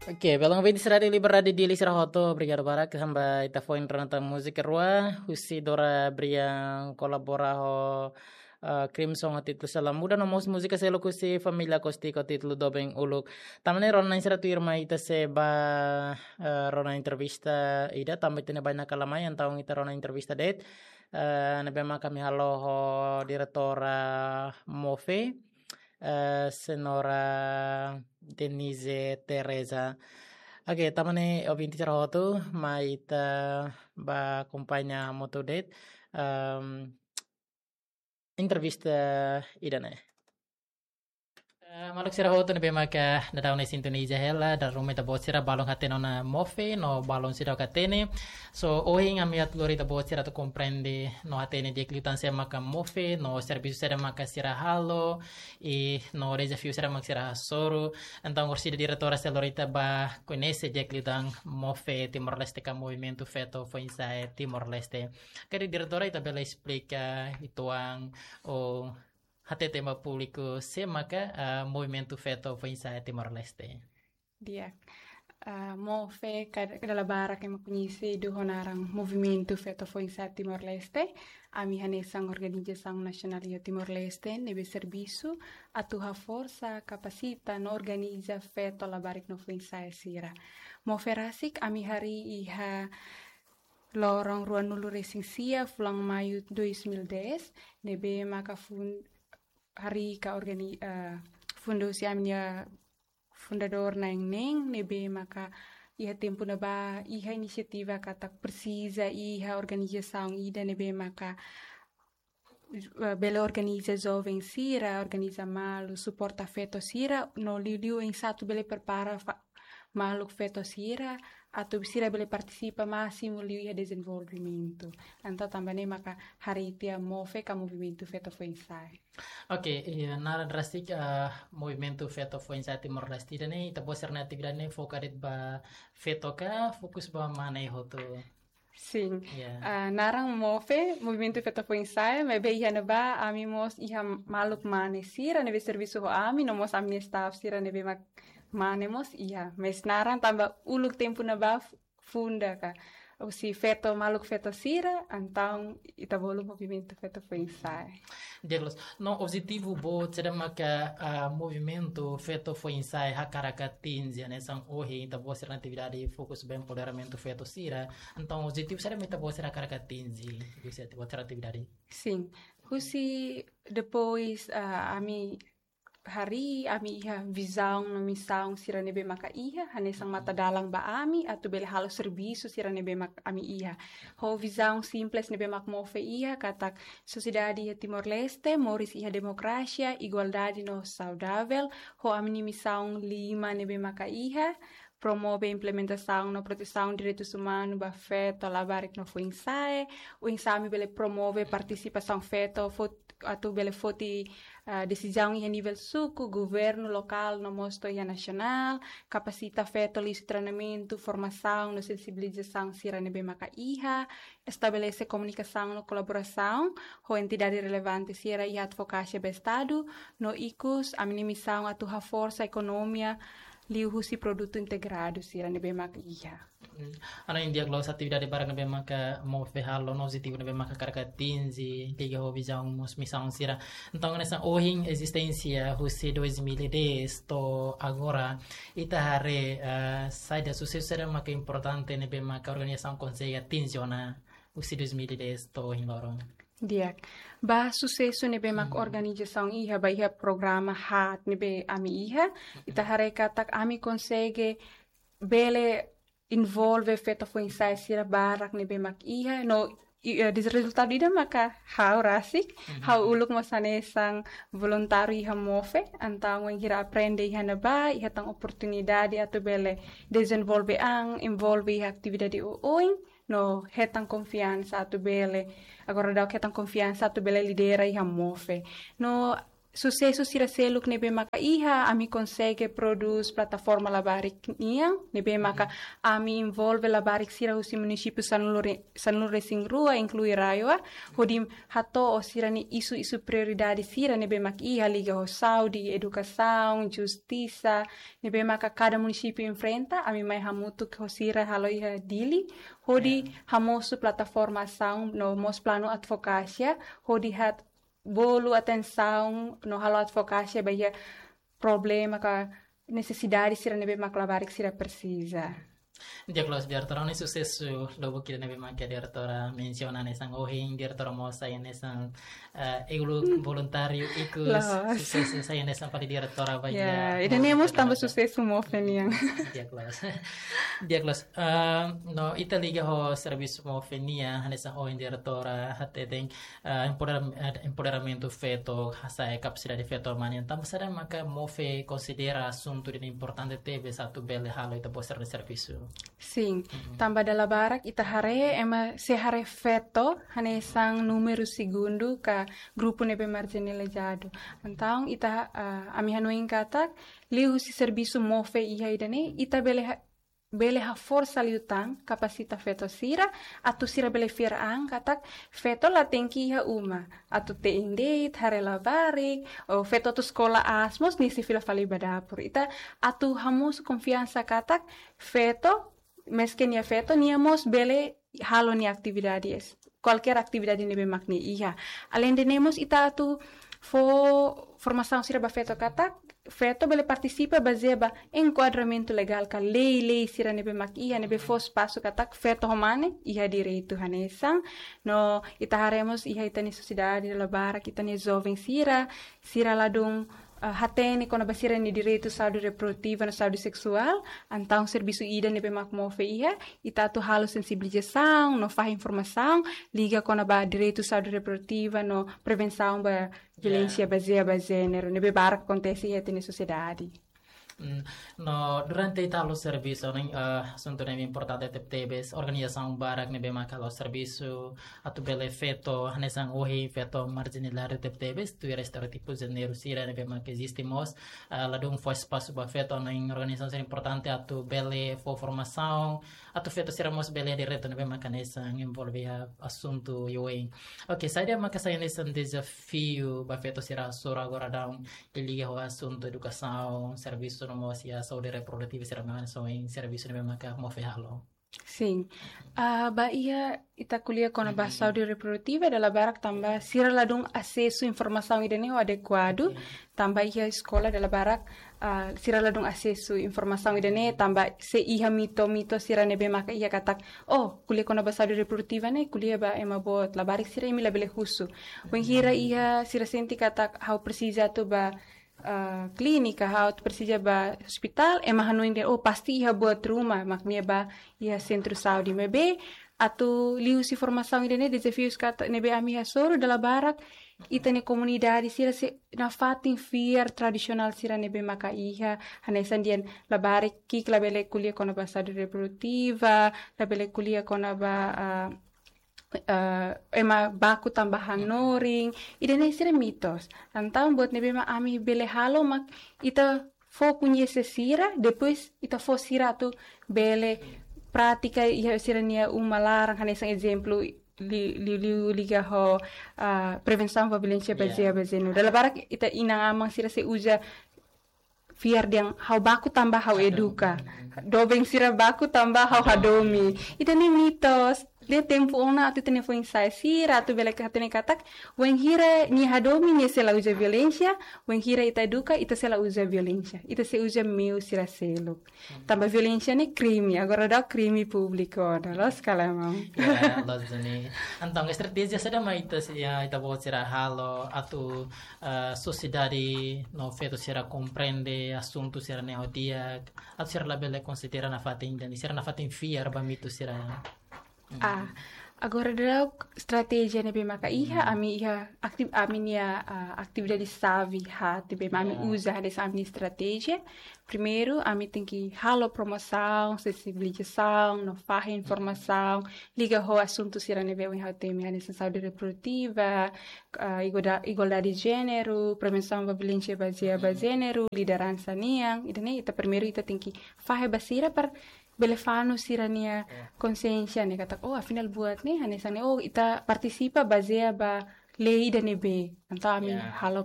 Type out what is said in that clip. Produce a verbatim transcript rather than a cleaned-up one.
Oke, belun ouvinte Rádiu Liberdade, di'ak liu sira hotu, obrigadu barak, tanba ita foin rona tan múzika rua, husi Dora Brian kolabora ho, eh, Crimson ho títulu Sela Muda, no mós múzika seluk husi Família Acústico ho títulu Doben Uluk. Tanba ne'e rona-na'in sira tuirmai ita sei ba, eh, rona entrevista ida, tanba ita-nia bainaka la mai, entaun ita rona entrevista de'it, eh, ne'ebé mak ami halo ho diretora MOFE, eh, Senhora Denise Teresa. Oke, tanba ne'e ouvinte sira hotu, mai ita ba akompaña hamutuk de'it, ehm, entrevista ida-ne'e. Eh, maluk sira hotu ne'ebé maka daudaun ne'e sintoniza hela, dala ruma ita-boot sira balun hatene ona MOFE, no balun seidauk hatene. So, ohin ami atu lori ita-boot sira atu komprende, no hatene di'ak liután sé maka MOFE, no servisu saida maka sira halo, i no dezafiu saida maka sira hasoru. Entaun, orsida diretora sei lori ita ba koñese di'ak liután MOFE Timor-Leste ka Movimentu Feto Foinsa'e Timor-Leste. Karik diretora ita bele esplika uitoan ou hatete ba públiku sé maka, ah, Movimentu Feto Foinsa'e Timor-Leste. Di'ak. Ah, MOFE ka-, dala barak ema koñesidu ho naran Movimentu Feto Foinsa'e Timor-Leste. Ami hanesan organizasaun nasionál iha Timor-Leste ne'ebé servisu atu haforsa, kapasita no organiza feto, labarik no foinsa'e sira. MOFE rasik ami harii iha loron ruanulu-resin-sia, fulan Maiu dois mil e dez, ne'ebé maka fun-, harii ka organi-, eh, fundu husi ami-nia fundadór na'in-neen, ne'ebé maka iha tempu ne'ebá iha inisiativa katak presiza iha organizasaun ida ne'ebé maka, eh, bele organiza joven sira, organiza malu, suporta feto sira, no liuliu oinsá atu bele prepara fa-, maluk feto sira, atu sira bele partisipa másimu liu iha dezenvolvimentu. Entaun tanba ne'e maka harii tiha MOFE ka Movimentu Feto Foinsa'e. Oke, iha naran rasik, ah, Movimentu Feto Foinsa'e Timor-Leste ida-ne'e, ita-boot sira-nia atividade ne'e foka de'it ba feto ka fokus ba mane hotu? Sin. Ya. Ah, naran MOFE, Movimentu Feto Foinsa'e, maibé iha ne'ebá ami mós iha maluk mane sira ne'ebé servisu ho ami, no mós ami-nia staff sira ne'ebé mak mane mós iha. Mais naran tanba uluk tempu ne'ebá f-, funda ka, husi feto, maluk feto sira, entaun ita bolu Movimentu Feto Foinsa'e. Di'ak loos. No objetivu boot saida maka, ah, Movimentu Feto Foinsa'e hakarak atinje, hanesan ohin ita-boot sira-nia atividade fokus ba empoderamentu feto sira. Entaun objetivu saida mak ita-boot sira hakarak atinje husi ita-boot sira-nia atividade? Sin. Husi depois, ah, ami harii, ami iha vizaun no misaun sira ne'ebé maka iha, hanesan matadalan ba ami atu bele halo servisu sira ne'ebé mak ami iha. Ho vizaun simples ne'ebé mak MOFE iha, katak sosiedade iha Timor-Leste moris iha demokrasia, igualdade no saudavel, ho ami-nia misaun lima ne'ebé maka iha, promove implementasaun no protesaun direitus umanu ba feto, labarik no foinsa'e, oinsá ami bele promove partisipasaun feto, fot-, atu bele foti, ah, desizaun iha nivel suku, governu lokál, no mós to'o iha nasionál, kapasita feto liuhusi treinamentu, formasaun no sensibilizasaun sira ne'ebé maka iha, estabelese komunikasaun no kolaborasaun ho entidade relevante sira iha advokasia ba Estadu, no ikus ami-nia misaun atu haforsa ekonomia liuhusi produtu integradu sira ne'ebé mak iha. Hmm. Entaun di'ak loos, atividade barak ne'ebé maka MOFE halo no objetivu ne'ebé maka hakarak atinje, liga ho vizaun no misaun sira. Entaun, hanesan ohin ezisténsia husi dois mil e dez to'o agora, ita haree, eh, saida susesu saida maka importante ne'ebé maka organizasaun konsege atinje ona husi dois mil e dez to'o ohin loron? Di'ak. Ba susesu ne'ebé mak, hmm, organizasaun iha, ba iha programa haat ne'ebé ami iha, ita haree katak ami konsege bele envolve feto foinsa'e sira barak ne'ebé mak iha, no i-, eh, des-, rezultadu ida maka ha'u rasik, mhm, ha'u uluk mós hanesan voluntáriu iha MOFE, entaun wainhira aprende iha ne'ebá, iha tan oportunidade atu bele dezenvolve an, envolve iha atividade oioin, no hetan konfiansa atu bele, agora daudaun hetan konfiansa atu bele lidera iha MOFE. No susesu sira seluk ne'ebé maka iha, ami konsege prodús plataforma labarik nian, ne'ebé maka ami envolve labarik sira husi munisípiu sanulu re-, sanulu resin rua, inklui RAEOA, hodi hato'o sira-nia isu-isu prioridade sira ne'ebé maka iha, liga ho saúde, edukasaun, justisa, ne'ebé maka kada munisípiu enfrenta, ami mai hamutuk ho sira halo iha Dili, hodi hamosu plataforma asaun no mós planu advokasia, hodi hat bolu atensaun no halo advokasia ba iha problema ka nesesidade sira ne'ebé mak labarik sira presiza. Di'ak loos, diretora, no susesu lubuk ida ne'ebé mak diretora mensiona hanesan ohin, diretora mós sai hanesan, eh, uluk voluntáriu ikus, susesu sai hanesan fali diretora ba iha. Ya, ida-ne'e mós tanba susesu MOFE nian. Di'ak loos. Di'ak loos. Eh, no ita liga ho servisu MOFE nian, hanesan ohin diretora hateten, eh, empoderam-, eh, empoderamentu feto, hasa'e kapasidade feto mane. Tanba saida maka MOFE konsidera asuntu ida importante tebes atu bele halo ita-boot sira-nia servisu? Sin, tanba dala barak ita haree ema sei haree feto hanesan númeru segundu ka grupu ne'ebé marjinalizadu. Entaun ita, ah, ami hanoin katak liuhusi servisu MOFE iha ida-ne'e, ita bele ha-, bele haforsa liután, kapasita feto sira, atu sira bele fiar an katak feto la tenke iha uma, atu te'in de'it, haree labarik, ou feto atu eskola aas mós nia sei fila fali ba dapur. Ita atu hamosu konfiansa katak feto, meski nia feto, nia mós bele halo nia atividade es-, kualkér atividade ne'ebé mak nia iha. Aleinde ne'e mós ita atu fó formasaun sira ba feto katak feto bele partisipa bazeia ba enkuadramentu legál ka lei-lei sira ne'ebé mak iha, ne'ebé fó espasu katak feto ho mane iha direitu hanesan. No ita haree mós iha ita-nia sosiedade dala barak, ita-nia joven sira, sira ladún, ah, hatene kona-ba sira-nia direitu saúde reprodutiva no saúde seksuál, entaun servisu ida ne'ebé mak MOFE iha, ita atu halo sensibilizasaun, no fahe informasaun, liga kona-ba direitu saúde reprodutiva no prevensaun ba violénsia bazeia ba jéneru, ne'ebé barak akontese iha ita-nia sosiedade. Mm, no, durante ita halo servisu, ne'e, eh, asuntu ne'ebé importante tebetebes, organizasaun barak ne'ebé maka halo servisu, atu bele feto, hanesan ohin feto marjinalizadu tebetebes, tuir estereótipu jéneru sira ne'ebé maka eziste mós, eh, ladún fó espasu ba feto, ne'e organizasaun sira importante atu bele fó formasaun, atu feto sira mós bele direitu ne'ebé maka hanesan envolve iha asuntu ida-ne'e. Oke, saida maka sai hanesan dezafiu ba feto sira hasoru agora daudaun, liga ho asuntu edukasaun, servisu no mós iha saúde reprodutiva sira mak hanesan ohin servisu ne'ebé maka MOFE halo? Sin. Ah, ba iha ita ko'alia kona-ba saúde reprodutiva dala barak tanba sira ladún asesu informasaun ida-ne'e ho adekuadu, tanba iha eskola dala barak, ah, sira ladún asesu informasaun ida-ne'e tanba sei iha mito-mito sira ne'ebé maka iha katak, oh, ko'alia kona-ba saúde reprodutiva ne'e ko'alia ba ema boot, labarik sira, imi labele husu. Wainhira iha sira sente katak ha'u presiza atu ba, ah, klínika, ha'u atu presiza ba ospitál, ema hanoin dehan, oh, pasti iha buat ruma, mak nia ba iha sentru saúde. Maibé atu liuhusi formasaun ida-ne'e, dezafius katak ne'ebé ami hasoru dala barak, ita-nia komunidade sira sei nafatin fiar tradisionál sira ne'ebé maka iha, hanesan dehan labarik ki'ik labele ko'alia kona-ba saúde reprodutiva, labele ko'alia kona-ba, ah, eh, ema baku tanba hanorin, ida-ne'e sira mitos. Entaun buat ne'ebé mak ami bele halo mak ita fó koñese sira, depois ita fó sira atu bele pratika iha sira-nia uma laran, hanesan ezemplu li-, li-, li-, liga ho, ah, prevensaun ba violénsia bazeia ba jéneru. Dala barak ita inan-aman sira sei uza fiar dehan ha'u baku tanba ha'u eduka. Doben sira baku tanba ha'u hadomi. Ida-ne'e mitos. Iha tempu ona atu ita-nia foin-sa'e sira atu bele hatene katak, wainhira nia hadomi nia sei la uza violénsia, wainhira ita eduka ita sei la uza violénsia. Ita sei uza meiu sira seluk. Tanba violénsia ne'e krime, agora daudaun krime públiku, loos ka lae, maun? Ya, loos duni. Entaun, estratéjia saida mak ita sei, ya, ita-boot sira halo atu, eh, sosiedade no feto sira komprende asuntu sira-ne'e ho di'ak, atu sira labele konsidera nafatin, dehan sira nafatin fiar ba mitu sira. Ah, Agora daudaun estratéjia ne'ebé maka iha, ami iha akti-, ami-nia, ah, atividade xave haat ne'ebé ami uza hanesan ami-nia estratéjia. Primeiru, ami tenke halo promosaun, sensibilizasaun, no fahe informasaun liga ho asuntu sira ne'ebé ohin ha'u temi hanesan saúde reprodutiva, ah, igualda-, igualdade de jéneru, prevensaun ba violénsia bazeia ba jéneru, lideransa nian. Ida-ne'e ita primeiru ita tenke fahe ba sira para bele fanu sira-nia konsiénsia ne'e katak, oh, afinál buat ne'e hanesan ne'e, oh, ita partisipa bazeia ba lei ida ne'ebé. Entaun ami halo